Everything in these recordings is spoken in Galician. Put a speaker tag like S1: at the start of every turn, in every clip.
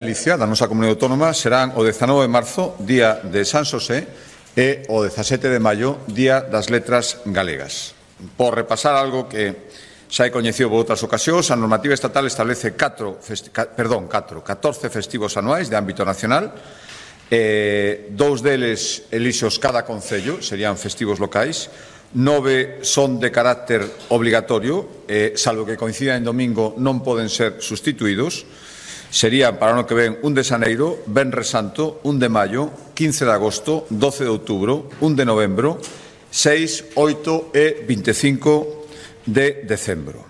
S1: Galicia, da nosa comunidade autónoma, serán o 19 de marzo, día de San Xosé, e o 17 de maio, día das letras galegas. Por repasar algo que xa é coñecido por outras ocasións, a normativa estatal establece 14 festivos anuais de ámbito nacional, dous deles elixos cada concello, serían festivos locais, 9 son de carácter obligatorio, salvo que coincidan en domingo non poden ser sustituídos. Serían para o ano que ven 1 de xaneiro, Venres Santo, 1 de maio, 15 de agosto, 12 de outubro, 1 de novembro, 6, 8 e 25 de decembro.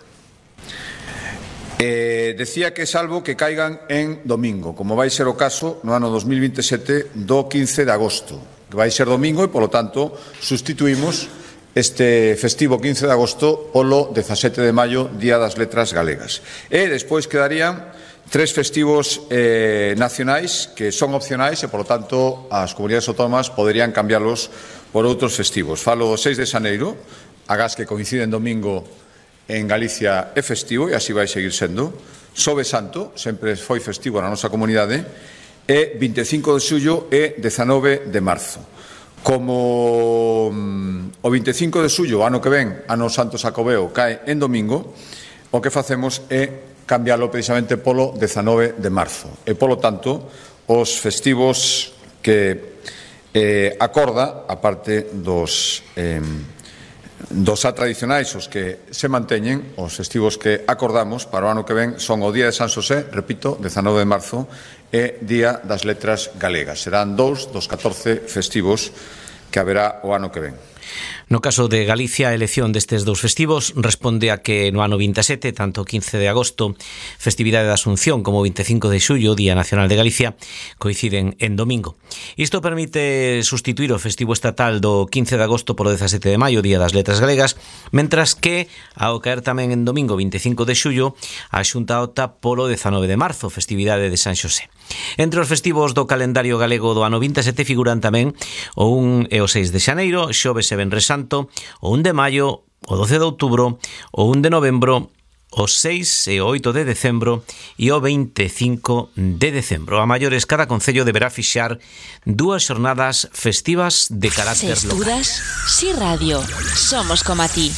S1: Decía que salvo que caigan en domingo, como vai ser o caso no ano 2027 do 15 de agosto, que vai ser domingo e, polo tanto, sustituímos este festivo 15 de agosto polo 17 de maio, Día das Letras Galegas. E despois quedarían 3 festivos nacionais que son opcionais e, polo tanto, as comunidades autónomas poderían cambiarlos por outros festivos. Falo do 6 de xaneiro, agás que coincide en domingo en Galicia é festivo e así vai seguir sendo. Xoves Santo, sempre foi festivo na nosa comunidade, e 25 de xullo e 19 de marzo. Como o 25 de xullo, ano que ven, ano Santo Xacobeo, cae en domingo, o que facemos é cambiarlo precisamente polo 19 de marzo. E, polo tanto, os festivos que acorda, a parte dos xa tradicionais, os que se manteñen, os festivos que acordamos para o ano que ven son o Día de San Xosé, repito, 19 de marzo, e Día das Letras Galegas. Serán 2 dos 14 festivos que haberá o ano que ven.
S2: No caso de Galicia, a elección destes dous festivos responde a que no ano 27, tanto o 15 de agosto, festividade da Asunción, como o 25 de xullo, Día Nacional de Galicia, coinciden en domingo. Isto permite sustituir o festivo estatal do 15 de agosto polo 17 de maio, Día das Letras Galegas, mentras que, ao caer tamén en domingo 25 de xullo, a Xunta opta polo 19 de marzo, festividade de San Xosé. Entre os festivos do calendario galego do ano 27 figuran tamén o 1 e o 6 de xaneiro, xoves e venres santo, o 1 de maio, o 12 de outubro, o 1 de novembro, o 6 e o 8 de decembro e o 25 de decembro. A maiores, cada concello deberá fixar 2 xornadas festivas de carácter local.
S3: Si Estudas, Si Radio. Somos como a ti.